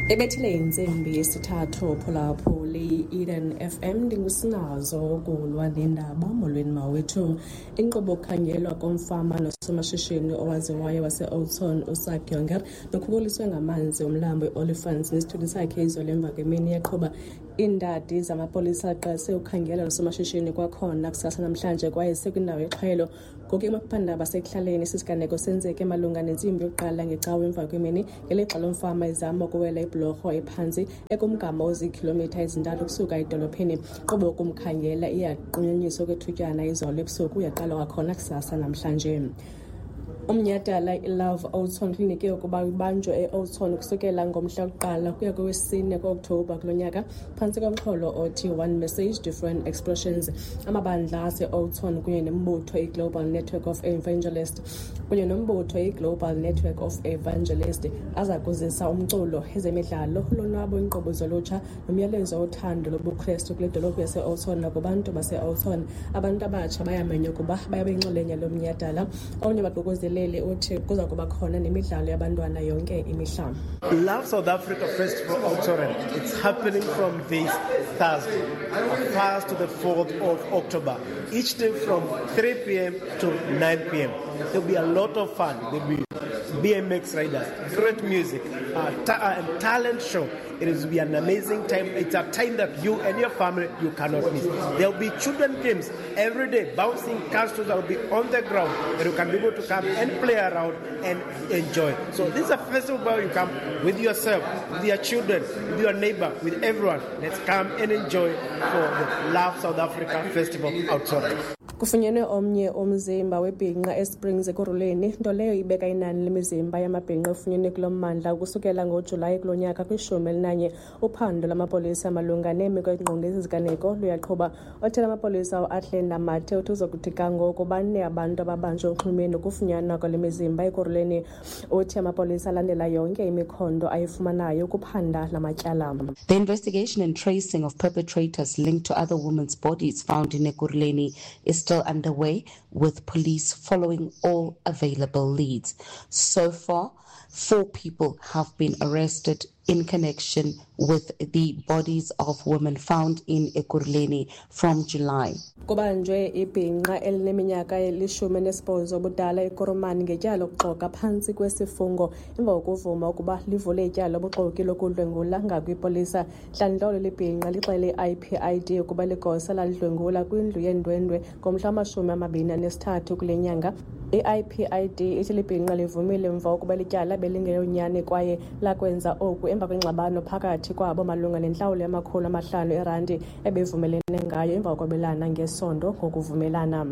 Ebethile intsimbi yesithathu phulaphuli Eden FM, ndingusinazo kulwa nendaba. Molweni mawethu. Inkqubo kukhangelwa komfama nosomashishini owaziwayo wase-Oudtshoorn uSak Jonker nokhukuliswe ngamanzi umlambo i-Olifants nesithuthi sakhe izolo emva kwemini yaqhuba. Iindadi zamapolisa aqalise ukhangela nosomashishini kwakhona kusasa namhlanje kwaye sekwindawo yexhwelo. Ngoku emaphephandaba asekuhlaleni, esi siganeko senzeke malunga nentsimbi yokuqala ngecawe emva kwemini ngelixa lo mfama ezama ukuwela ibhulorho ephantsi ekumgama oziikhilomitha ezintathu ukusuka edolophini. Inkqubo yokumkhangela iyaqunyenyiswa okwethutyana izolo ebusuku yaqala kwakhona kusasa namhlanje. Umnyhadala iLove Oudtshoorn klinike ukuba ibanjwe e-Oudtshoorn ukusukela ngomhla wokuqala ukuya kowesine ku-Okthobha kulo nyaka phantsi komxholo othi One Message, Different Expressions. Amabandla ase-Oudtshoorn kunye nembutho iGlobal Network of Evangelist kunye nombutho iGlobal Network of Evangelist aza kuzisa umculo, ezemidlalo, ulonwabo, iinkqubo zolutsha nomyalezo wothando lobuKrestu kule dolophu yase-Oudtshoorn nakubantu base-Oudtshoorn. Abantu abatsha bayamenywa ukuba babe yinxalenye yalo mnyhadala. Omnye wabaququzeleli uthi kuza kuba khona nemidlalo yabantwana yonke imihla. Love South Africa Festival Oudtshoorn. It's happening from this Thursday, 1st to the 4th of October. Each day from 3 p.m. to 9 p.m. There'll be a lot of fun. There'll be BMX riders, great music, talent show. It will be an amazing time. It's a time that you and your family, you cannot miss. There'll be children games every day, bouncing castles that will be on the ground, and you can be able to come and play around and enjoy. So this is a festival where you come with yourself, with your children, with your neighbor, with everyone. Let's come and enjoy for the Love South Africa Festival Oudtshoorn. Kufunyenwe omnye umzimba webhinqa eSprings Ekurhuleni, nto leyo ibeka inani lemizimba yamabhinqa efunyenwe kulo mmandla ukusukela ngoJulayi kulo nyaka kwishumi elinanye. Uphando lwamapolisa malunga neemeko engqonge esi siganeko luyaqhuba. Othela amapolisa uAthlenda Mathe uthi uzokuthi ga ngoku bane abantu ababanjwe unxulumeni nokufunyanwa kwale mizimba Ekurhuleni. Uthi amapolisa alandela yonke imikhondo ayifumanayo ukuphanda la matyala. The investigation and tracing of perpetrators linked to other women's bodies found in Ekurhuleni is still underway, with police following all available leads. So far, four people have been arrested in connection with the bodies of women found in Ekurhuleni from July. Kubanjwe ibhinqa elineminyaka elishumi nesibhozo ubudala eKurumani ngetyala lokuxoka phantsi kwesifungo emva kokuvuma ukuba livule ityala lobuxoki lokudlwengula ngakwipolisa. Ntlandlolo libhinqa lixele i-IPID ukuba ligosa lalidlwengula kwindlu yeendwendwe ngomhla wama-23 kule nyanga. I-IPID ithi libhinqa livumile emva kokuba lityala belingeyonyani kwaye lakwenza oku emva kwengxabano phakathi kwabo malunga nentlawulo yama-500 erandi ebevumelene ngayo emva kokwabelana ngesondo ngokuvumelana.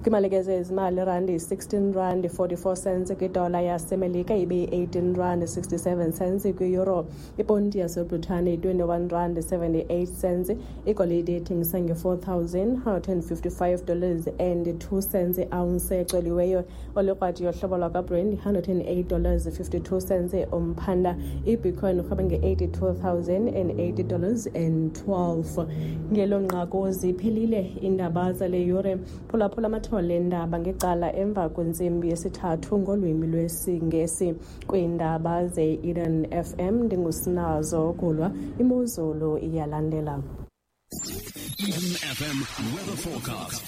Kwimalike zezimali, irandi yi-16 rand 44 cents kwidola yaseMelika, ibe yi-18 rand 67 cents kwi-euro. Iponti yaseBritane yi-21 rand 78 cents. Igolide ithengisa nge-$4,155 and 2 cents i-ounce ecoliweyo. Olikrwati yohlobo lwakwaBrent $108 52 cents umphanda. Ibitcoin urhweba nge-$82,080 and 12. Ngelo nqaku ziphelile iindaba zale yure. Phulaphula amathole endaba ngecala emva kwentsimbi yesithathu ngolwimi lwesiNgesi kwiindaba ze-Eden FM. Ndingusinazo Kulwa. Imozulu iyalandela. Eden FM weather forecast.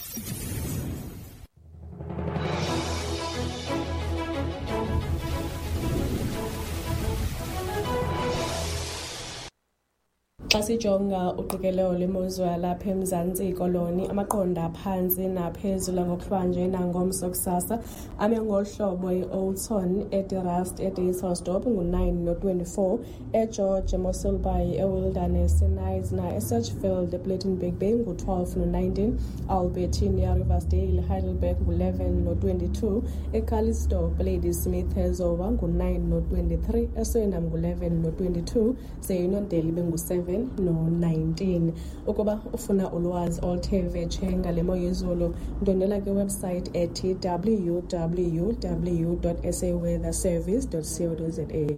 Xa sijonga uqikelelo lwemozulu yalapha eMzantsi Koloni, amaqondo aphantsi naphezulu ngokuhlwanje nangomso kusasa ame ngolu hlobo: i-Oudtshoorn, eDe Rust, eDysselsdorp ngu-9 no-24, eGeorge, eMossel Bay, eWilderness, eKnysna, eSedgefield, ePlettenberg Bay ngu-12 no-19, Albertinia, Riversdale, Heidelberg ngu-11 no-22, eCalitzdorp, Ladysmith, eZowa ngu-9 no-23, eSwellendam ngu-11 no-22, ze-Uniondale ibe ngu-7 no-19. Ukuba ufuna ulwazi oluthe vetshe ngale mo yezulu, ndwendwela kwiwebsite ethi www.saweatherservice.co.za.